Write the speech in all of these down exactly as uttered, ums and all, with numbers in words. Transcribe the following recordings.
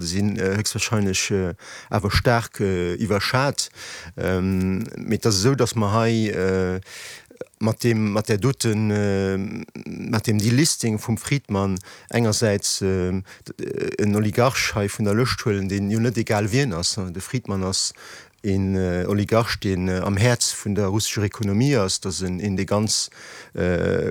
Sinn héchstwahrscheinlech awer staark iwwerschat. Mee et ass esou, datt mer hei mat deem, mat där doten, mat deem Delisting vum Fridman engersäits en Oligarch hei vun der Lëscht huelen, deen jo net egal wien ass. De Fridman ass een Oligarch, deen am Häerz vun der russescher Ekonomie ass. Dat ass een, dee ganz,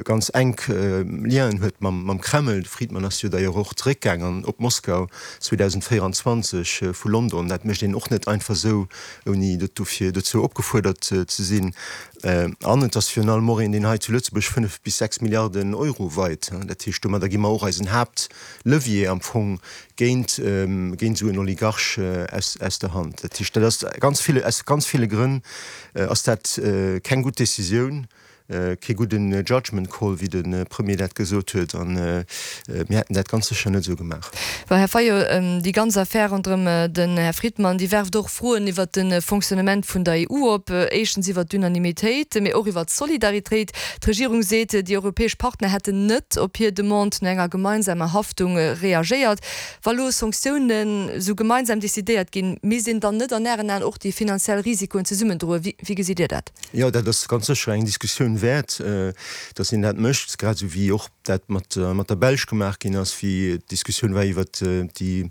ganz enk Lienen huet mam Kreml. De Fridman ass jo d'ailleurs och zeréckgaang an op Moskau zweedausendvéierenzwanzeg vu London. Dat mécht een och net einfach esou, ouni dofir dozou opgefuerdert ze sinn. An et ass virun allem och een, deen hei zu Lëtzebuerg fënnef bis sechs Milliarden Euro weit. Dat heescht, domadder gi mer och eisen Haaptlevier am Fong géint géint esou en Oligarch aus aus der Hand. Dat heescht, dat ass ganz ville aus ganz ville Grënn ass dat keng gutt Décisioun, kee gudden Judgment call, wéi de Premier dat gesot huet, a mir hätten dat ganz sécher net esou gemaach. Bon, Här Fayot, déi ganz Affär ronderëm den Här Fridman, déi werft och Froen iwwert de Fonctionnement vun der E U op. Éischtens iwwert d'Unanimitéit, mee och iwwert d'Solidaritéit. D'Regierung seet, déi europäesch Partner hätten net op hir Demande no enger gemeinsamer Haftung reagéiert. Wa lo Sanktiounen esou gemeinsam decidéiert ginn, misst een dann net an Ären Aen och déi finanziell Risikoen zesummen droen? Wéi gesitt Dir dat? Jo, dat ass ganz sécher eng Diskussioun wäert, datt een dat mécht, grad esou wéi och dat mat mat der Belsch gemaach ginn ass, wéi d'Diskussioun war iwwert déi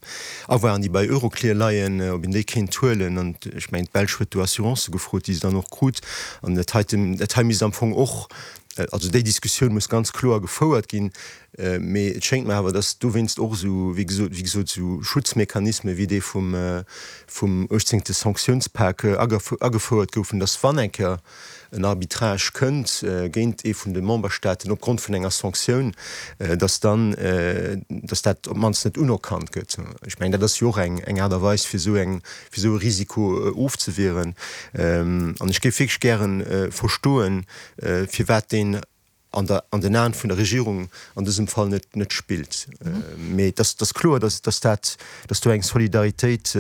Avoiren, déi bei Euroclear leien, ob een déi kéint huelen. An ech mengen, d'Belsch huet do Assurancë gefrot, déi se dann och krut. An dat heiten, dat hei misst am Fong och, also déi Diskussioun muss ganz kloer gefouert ginn. Mee et schéngt mer awer, datt dowéinst och esou, wéi gesot, wéi gesot, esou Schutzmechanisme wéi dee vum vum uechtzéngte Sanktiounspak agefouert goufen, datt wann eng Kéier en Arbitrage kënnt géint ee vun de Memberstaaten opgrond vun enger Sanktioun, datt dann, datt dat op d'mannst net unerkannt gëtt. Ech mengen, dat ass jo och eng eng Aart a Weis, fir esou eng, fir esou e Risiko ofzewieren. An ech géif wierklech gäre verstoen, firwat deen an der, an den Aen vun der Regierung an dësem Fall net, net spillt. Mee et ass, et ass kloer, datt, datt dat, datt do eng Solidaritéit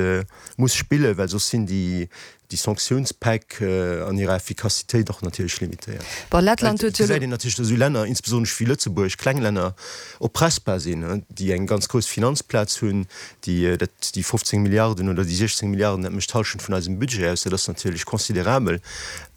muss spillen, well soss sinn déi, déi Sanktiounspäck an hirer Effikassitéit och natierlech limitéiert. Bon, Lettland huet jo elo. Et gesäit een natierlech, datt esou Länner, insbesonnesch wéi Lëtzebuerg, kleng Länner, oppressbar sinn, déi eng ganz grouss Finanzplaz hunn, déi dat, déi fofzéng Milliarden oder déi siechzéng Milliarden, dat mécht d'Hallschent vun eisem Budget aus, dat ass natierlech considerabel.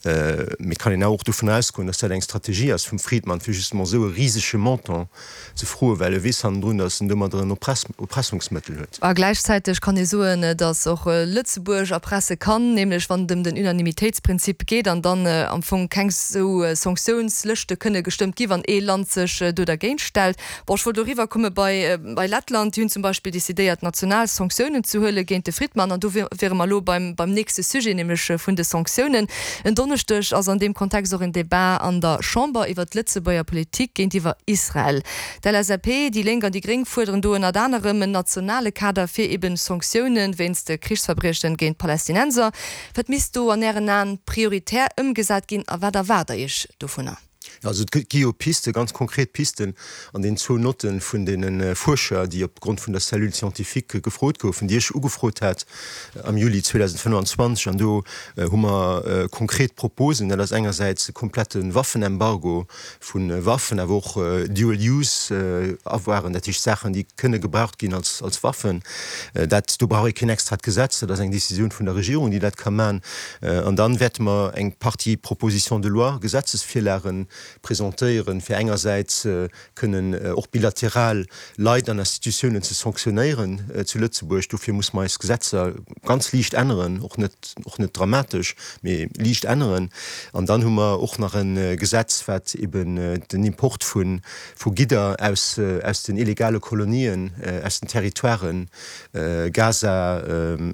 Mee et kann een awer och dovun ausgoen, datt dat eng Strategie ass vum Friedman, fir justement esou e risege Montant ze froen, well e weess hannendrun, datt en domadder en Erpressungsmëttel huet. A gläichzäiteg kann ee soen, datt och Lëtzebuerg erpresse kann, nämlech wann et ëm den Unanimitéitsprinzip geet an dann am Fong keng esou Sanktiounslëschte kënne gestëmmt gi wann ee Land sech do dergéint stellt. Bon, ech wollt do eriwwerkomme bei bei Lettland. Déi hunn zum Beispill decidéiert, national Sanktiounen ze huele géint de Fridman. An do wiere mer elo beim beim nächste Sujet, nämlech vun de Sanktiounen. En Donneschdeg ass an deem Kontext och en Debat an der Chamber iwwert d'Lëtzebuerger Politik géintiwwer Israel. D'L S A P, déi Lénk an déi Gréng fuerderen do ënnert anerem en nationale Kader fir eben Sanktioune wéinst de Krichsverbriechen géint d'Palästinenser. Wat misst do an Ären Aen prioritär ëmgesat ginn a wat erwaart Der Iech dovunner? Also et gi jo Pisten, ganz konkret Pisten an den zwou Notten vun deene Fuerscher, déi opgrond vun der Cellule scientifique gefrot goufen, déi ech ugefrot hat am Juli zweedausendfënnwanzwanzeg. An do hu mer konkret Proposen. Dat ass engersäits e komplette Waffenembargo vu Waffen, awer och Dual-use-Avoiren, dat heescht Saachen, déi kënne gebraucht ginn als als Waffen. Dat, do brauch ee keen extrat Gesetz, dat ass eng Décisioun vun der Regierung, déi dat ka maachen. An dann wäerte mer eng Partie Propositions de loi, Gesetzesvirlagen, presentéieren, fir engersäits kënnen och bilateral Leit an Institutiounen ze sanktionéieren zu Lëtzebuerg. Dofir muss mer eis Gesetzer ganz liicht änneren, och net, och net dramatesch, mee liicht änneren. An dann hu mer och nach e Gesetz, wat eben den Import vu vu Gidder aus aus den illegale Kolonien, aus den Territoiren Gaza,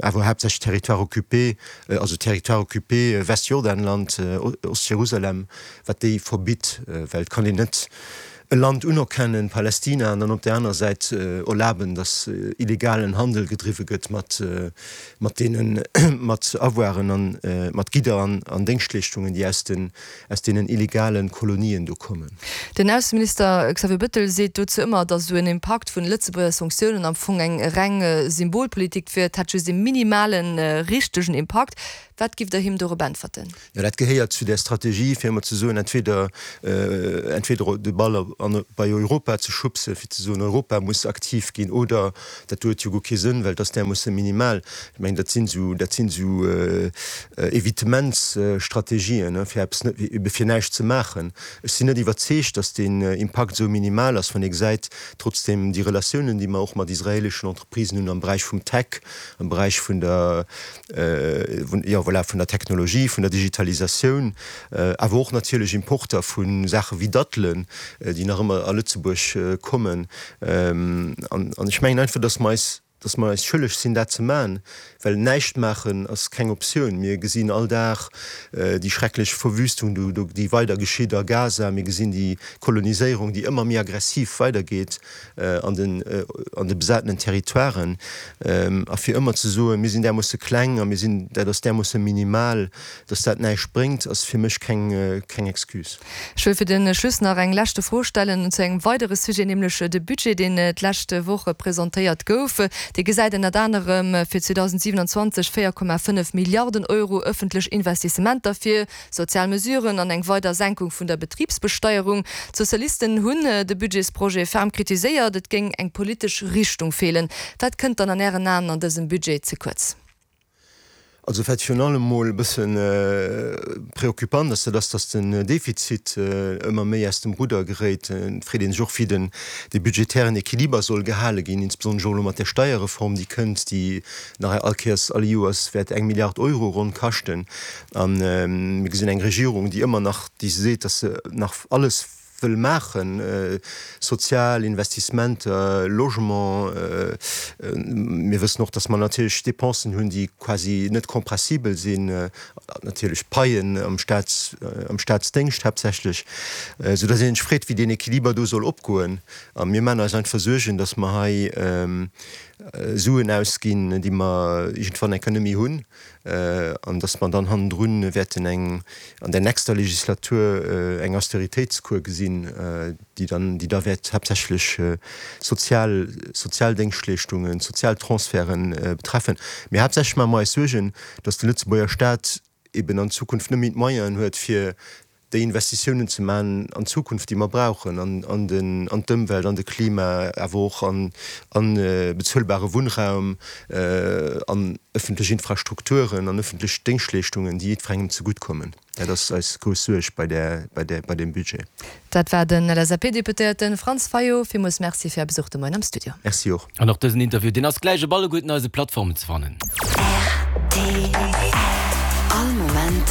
awer haaptsächlech Territoires occupés, also Territoires occupés, Westjordanland, Ostjerusalem, wat déi verbitt, well et kann een net e Land unerkennen, Palästina, an dann op där aner Säit erlaben, datt illegalen Handel gedriwwe gëtt mat mat deenen mat Avoiren an mat Gidder an an Déngschtleeschtungen, déi aus den aus deenen illegale Kolonien do kommen. Den Ausseminister Xavier Bettel seet dozou ëmmer, datt esou en Impakt vun Lëtzebuerger Sanktiounen am Fong eng reng Symbolpolitik wier, et hätt just e minimalen richtegen Impakt. Wat giff Der him dorop äntwerten? Jo, dat gehéiert zu där Strategie, fir ëmmer ze soen, entweder, entweder de Ball an, bei Europa ze schubse fir ze soen, Europa muss aktiv ginn oder dat do huet jo guer kee Sënn, well dat ass därmoosse minimal. Ech mengen, dat sinn esou, dat sinn esou Evitementsstrategien, fir eppes net, ebe fir näischt ze maachen. Ech sinn net iwwerzeegt, datt deen Impakt esou minimal ass, wann ee gesäit trotzdem déi Relatiounen, déi mer och mat israeleschen Entreprisen hunn am Beräich vum Tech, am Beräich vun der, jo voilà, vun der Technologie, vun der Digitalisatioun, awer och natierlech Importer vu Saache wéi Dattelen, déi nach ëmmer a Lëtzebuerg kommen. An ech mengen einfach, dass mer eis, dass mer eis schëlleg sinn, dat ze maachen, well näischt maachen ass keng Optioun. Mir gesinn all Dag déi schrecklech Verwüstung, déi weider geschitt a Gaza. Mir gesinn déi Koloniséierung, déi ëmmer méi aggressiv weidergeet an den, an de besatenen Territoiren. A fir ëmmer ze soen, mir sinn därmoosse kleng a mir sinn, dat ass därmoosse minimal, dass dat näischt bréngt, ass fir mech keng, keng Excuse. Ech wëll fir de Schluss nach eng leschte Fro stellen zu engem weidere Sujet, nämlech de Budget, deen d'lescht Woch presentéiert gouf. Dee gesäit ënnert anerem fir zweedausendsiewenundzwanzeg véier Komma fënnef Milliarden Euro ëffentlech Investissementer vir, sozial Mesuren an eng weider Senkung vun der Betribsbesteierung. D'Sozialisten hunn de Budgetsprojet ferm kritiséiert, et géing eng politesch Richtung feelen. Wat kënnt dann an Ären Aen an dësem Budget ze kuerz? Also wat virun allem mol e bësse preoccupant ass, dat ass, datt den Defizit ëmmer méi aus dem Rudder geréit. Et freet ee sech och, wéi den dee budgetären Equiliber soll gehale ginn, insbesonnesch och elo mat där Steierreform, déi kënnt, déi nach all Kéiers, all Joers wäert eng Milliard Euro ronn kaschten. A mir gesinn eng Regierung, déi ëmmer nach, déi seet, datt se nach alles wëll maachen, sozial Investissementer, Logement. Mir wëssen och, datt mer natierlech Dépensen hunn, déi quasi net compressibel sinn, natierlech d'Paien am Staats, am Staatsdéngscht haaptsächlech, soudatt ee sech freet, wéi deen Equiliber do soll opgoen. A mir maachen eis einfach Suergen, datt mer hei Suen ausginn, déi mer iergendwann eng Kéier net méi hunn, an datt mer dann hannendrun wäerten eng, an der nächster Legislatur eng Austeritéitskur gesinn, déi dann, déi da wäert haaptsächlech sozial, sozial Déngschtleeschtungen, sozial Transferten betreffen. Mee haaptsächlech maache mer eis Suergen, datt de Lëtzebuerger Staat eben an Zukunft net méi d'Moyenen huet, fir déi Investitiounen ze maachen an d'Zukunft, déi mer brauchen, an an den an d'Ëmwelt, an de Klima, awer och an an bezuelbare Wunnraum, an ëffentlech Infrastrukturen an ëffentlech Déngschtleeschtungen, déi jiddwerengem zegutt kommen. Dat ass eis grouss Suerg bei där bei där bei deem Budget. Dat war den L S A P-Deputéierte Franz Fayot. Villmools Merci fir Är Besuch de Moien am Studio. Merci och. An och dësen Interview, deen ass gläich op alleguerten eise Plattformen ze fannen. R T L All Moment.